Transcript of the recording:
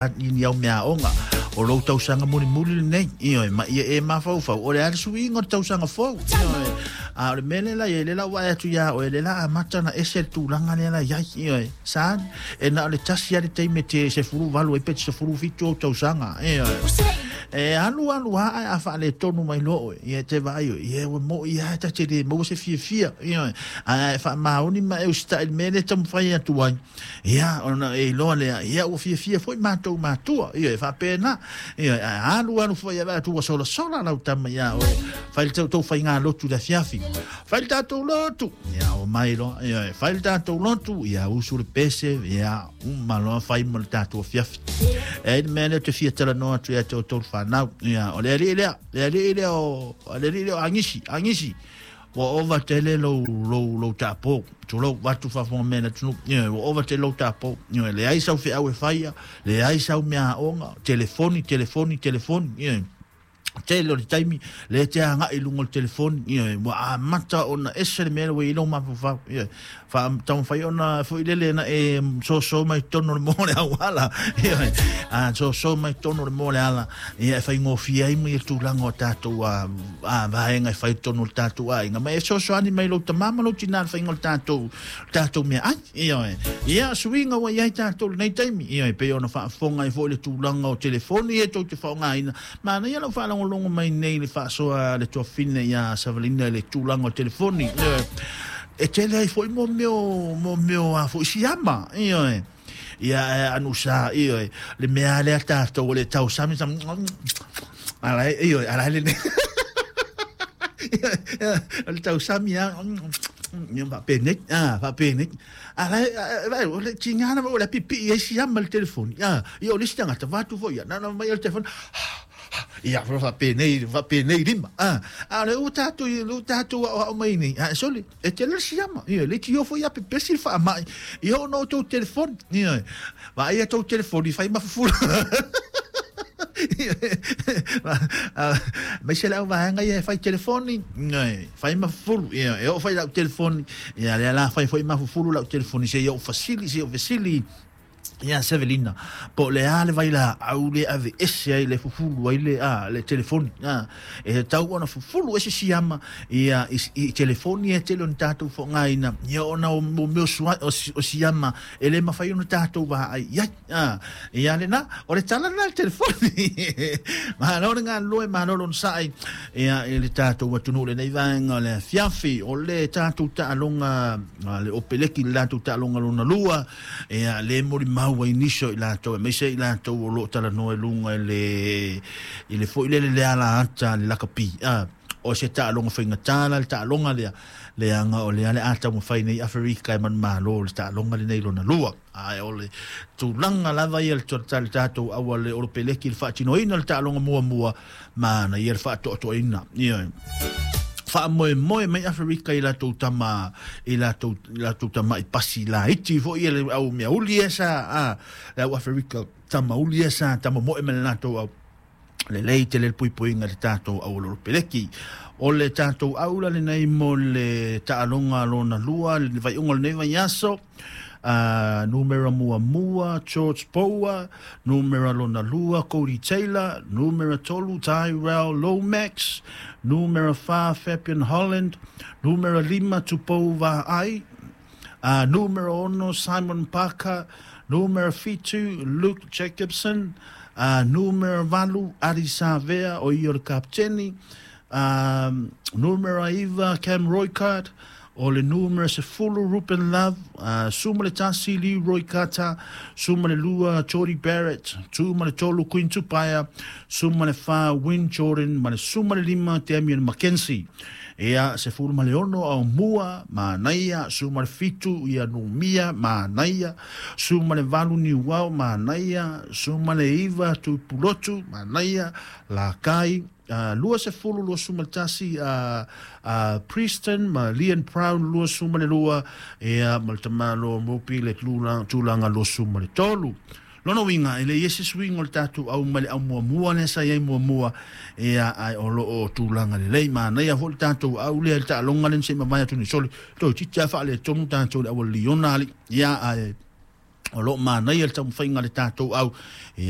Ni au mea aoga o lou tausaga mulimuli lenei, ioe, ma ia e mafaufau o le a le suiga o le tausaga fou, ioe. A o le mea lea la i ai, lea la ua vaai atu iā oe, lea la amata ona ese le tulaga lea la i ai, ioe. Son, e na o le tasi lava le taimi e te 18 ai pe te 17 ou tausaga, ioe. E alu alu lava ae a faaletonu mai loa oe, ia e te vaai oe, ia ua moi lava ta te le maua se fiafia, ioe. Ae a e faamaoni ma e usitai i le mea lea e taumafai atu ai, Ia, ona e iloa lea, ia ua fiafia foi matou matua, ia e faapena. Ia, ae alu alu foi e atu ua solasola lau tama iā oe. Fai le tou faigalotu i le afiafi. Fai le tatou lotu. Ia, omai loa. Ia, e fai le tatou lotu. Ia, usu le pese. Ia, uma loa fai mo le tatou afiafi. E ai le mea lea ou te fia talanoa atu ia te outou le fanau. Ia, o le alii lea, le alii lea o, le alii lea o Agisi, Agisi. Ua ova tele lou, lou, lou tapo. Tulou, vaeatu faafofoga mai a le atunuu. Ioe, ua ova tele lou tapo. Ioe, leai sau feau e faia, leai sau mea aoga, telefoni, telefoni, telefoni. Ioe. Tele o le taimi, lea e te agai i luga o le telefoni. Ioe, ua amata ona ese le mea lea ua i ai lou mafaufau. Ioe, taumafai ona foi lele na e soso mai totonu o le moa o le auala. Ioe, a soso mai totonu o le moa o le ala, ia e faigofie ai ma ia tulaga o tatou a, a vaega e fai totonu o le tatou aiga. Ma e fesoasoani mai lou tamā ma lou tinā i le faiga o le tatou, tatou meaai. Ioe, ia suiga ua i ai tatou i lenei taimi. Ioe, pei ona faafofoga ai foi le tulaga o telefoni e tou te faaaogaina. Manaia lau faalogologo mai nei i le faasoa a le tuafafine ia Savalina i le tulaga o telefoni. Ioe. E tele ai foi mo mea o, mo mea o a foi siama. Ioe. Ia e anusa, ioe, le mea lea tatou o le tausami sa ala ioe, ala le o le tausami a ia faapenei, a faapenei. A la e, o le tiga na o le pipii ai siama i le telefoni. A, ia o le isi tagata, vaeatu foi ia, na ona mai o le telefoni, ia faapenei, faapenei lima. A, a o lea ua tatou, ua tatou aoao mai nei, a sole, e tele le siama. Ia, leitioa foi ia pepesi le faamai, ia ona o tou telefoni. Ia, vaai a tou telefoni, fai ma fufulu. Aemaise le au vaega ia e fai telefoni, fai ma fufulu, e oo foi lau telefoni, ia lea la fai foi ma fufulu lau telefoni seia ou fasili, seia ou fesili ia Sevelina, po o le a le vailaau lea e aveese ai le fufulu ai le, a, le telefoni. A, e tatau ona fufulu ese siama ia i, i telefoni e tele ona tatou faaaogaina, ia ona o mea o, o siama e le mafai ona tatou vaai i ai. A, ia lena, o le tala lena i le telefoni. Malo le galulue, malo le onosai ia, i le tatou atunuu i lenei vaega o le afiafi. O le tatou taaloga, le Opeleki, le latou taaloga lona lua, ia, le molimau ai nisi o i latou, aemaise i latou o lo o talanoa i luga i le, i le foi lele le ala ata le lakapi. A, o se taaloga faigata la le taaloga lea, leaga o lea le a taumafai nei Aferika e manumalo le taaloga lenei lona lua. Ae o le tulaga lava ia le tatou aua le Olopeleki i le faatinoina o le taaloga muamua, manaia le faatoatoaina. Ioe. Faamoemoe mai Aferika i latou tama, i latou, i latou tama'i pasi laiti foi ia le au meauli ia sa, a, le au Aferika tamauli ia sa tamomoe ma le latou au. Lelei tele le puipuiga i le tatou aualolopeleki. O le tatou aula lenei mo le taaloga lona lua, le vaiuga o lenei vaiaso, numera muamua George Bower, numera lona lua Cody Taylor, numera tolu Tyrell Lomax, numera fa Fabian Holland, numera lima Tupou Vaai, numera ono Simon Parker, numera fitu Luke Jacobson, numera valu Adi Savea o ia o le kapiteni, numera iva Cam Roykart, o le numera 10 Ruben Love, 11 Leroy Carter, 12 Jordie Barrett, 13 Quinn Tupaea, 14 Wayne Jordan ma le 15 Damian McKenzie. Ia, 16 Aumua, manaia, 17 ia Numia, manaia, 18 Niuao, manaia, 19 Tuipulotu, manaia, Lakai, 20, 21 Preston ma Leon Brown, 22, ia, ma le tamaloa Mopi le tulaga 23. Lona uiga, e leai se suiga o le tatou au mai le au muamua lea sa i ai muamua, ia, ae o lo o tulaga lelei. Manaia foi le tatou au lea i le taaloga lea na se i mavae atu nei sole, toeitiiti lava faaletonu tatou i le auala liona alii, ia, ae o lo o manaia le taumafaiga a le tatou au, ia.